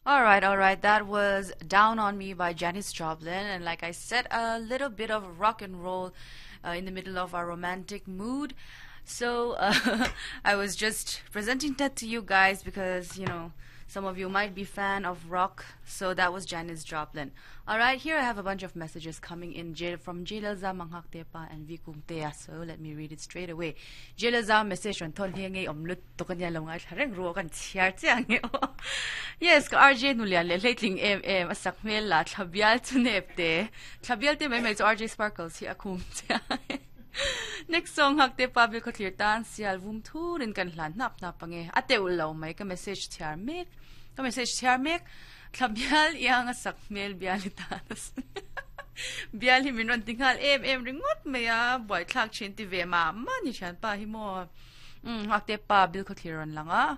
All right, all right. That was Down on Me by Janis Joplin. And like I said, a little bit of rock and roll uh, in the middle of our romantic mood. So uh, I was just presenting that to you guys because, you know, some of you might be fan of rock. So that was Janis Joplin. All right, here I have a bunch of messages coming in from Jelaza Manghaktepa and Vikumtea. So let me read it straight away. Jelaza message on ton hi nge om lut to kan lo ngai thla reng ru kan chhiar chiang nge o. Yes, ka RJ nulian le hleitling em em a sak hmel la thlabial chu nep te. Thlabial te mai mai chu RJ Sparkles hi a khum chiang. Next song hak te pa bil khawthlir tan sial vum thurin kan hlan hnap hnap ange. A teuh lo mai ka message chhiar mek. Ka message chhiar mek. Thlabial iang a sak hmel bial hi tan a bial hi min rawn ti nghal em em ringawt mai a buaithlak thin ti ve mah mah ni thianpa hi maw. Um hak te pa bil khawthlir rawn lang a.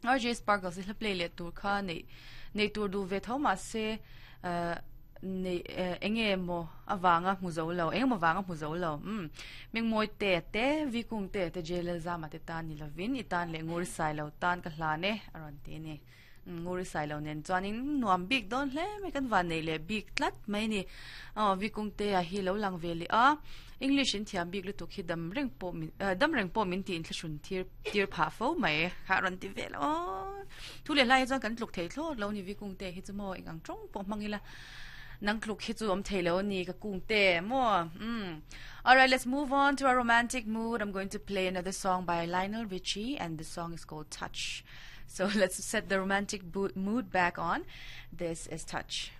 RJ Sparkles hi hla play leh tur kha nei nei tur duh ve tho mah se eh nei eh eng nge maw avanga hmu zo lo eng emaw vanga hmu zo lo umm Mengmawi te te Vikung te te Jailel Zama te tan ni lovin i tan leh Nguri Sailo tan ka hlan e a rawn ti a ni. Nguri Sailo nen chuanin nuam bik dawn hle mai kan van nei leh bik tlat mai a ni. Aw Vikungtea hi lo lang ve leh a English in thiam bik lutuk hi dam reng pawh min eh dam reng pawh min tih inthlahrun tir tir phah fo mai kha a rawn ti vel a aw thu leh hlai hi chuan kan tluk thei thlawt lo a ni Vikungtea hi chu maw eng ang tawng pawh hmang ila nang tluk hi chu awm thei lo a ni ka kungte maw umm Alright let's move on to our romantic mood I'm going to play another song by Lionel Richie and the song is called Touch. So let's set the romantic mood back on. This is Touch.